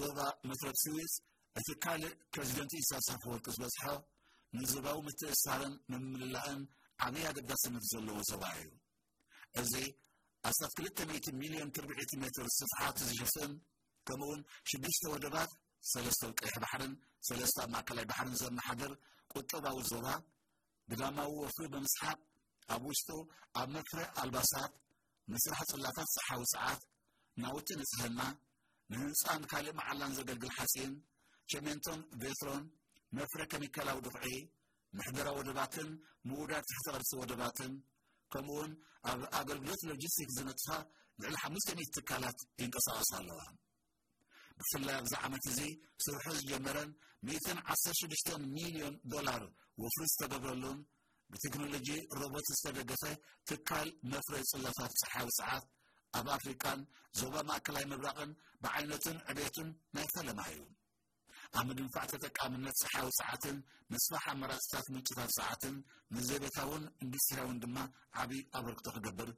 ዞባ መስረት ስዊዝ እቲ ካልእ ፕሬዚደንት ኢሳያስ ኣፈወርቂ ዝበዝሖ ንዞባዊ ምትእስሳርን ምምልላእን ዓብዪ ኣገዳስነት ዘለዎ ዞባ እዩ። እዚ ኣስታት ክልተ ሚእቲ ሚልዮን ትርብዒት ሜትር ስፍሓት ዝሽፍን፣ ከምኡውን ሽዱሽተ ወደባት፣ ሰለስተ ኣብ ቀይሕ ባሕርን ሰለስተ ኣብ ማእከላይ ባሕርን ዘመሓድር ቁጠባዊ ዞባ፣ ግዳማዊ ወፍሪ ብምስሓብ ኣብ ውሽጡ ኣብ መፍረ ኣልባሳት፣ ምስራሕ ጽላታት ጸሓዊ ሰዓት፣ ናውቲ ንጽህና፣ ንህንጻን ካልእ መዓላን ዘገልግል ሓጺን፣ ቸሜንቶን ቬትሮን፣ መፍረ ከሚካላዊ ድኹዒ፣ ምሕደራ ወደባትን ምውዳድ ትሕቲ ቅርሲ ወደባትን፣ ከምኡውን ኣብ ኣገልግሎት ሎጂስቲክስ ዝነጥፋ ልዕሊ ሓሙሽተ ሚእቲ ትካላት ይንቀሳቐሳ ኣለዋ። ብፍላይ ኣብዚ ዓመት እዚ ስርሑ ዝጀመረን ሚእትን ዓሰርተ ሽዱሽተን ሚልዮን ዶላር ወፍሪ ዝተገብረሉን ብቴክኖሎጂ ሮቦት ዝተደገፈ ትካል መፍረይ ጽላታት ጸሓያዊ ሰዓት ኣብ ኣፍሪቃን ዞባ ማእከላይ ምብራቕን ብዓይነቱን ዕቤቱን ናይ ፈለማ እዩ። ኣብ ምድንፋዕ ተጠቃምነት ጸሓያዊ ሰዓትን ምስፋሕ ኣማራጽታት ምንጭታት ሰዓትን ንዘቤታውን ኢንዱስትሪያውን ድማ ዓቢ ኣበርክቶ ክገብር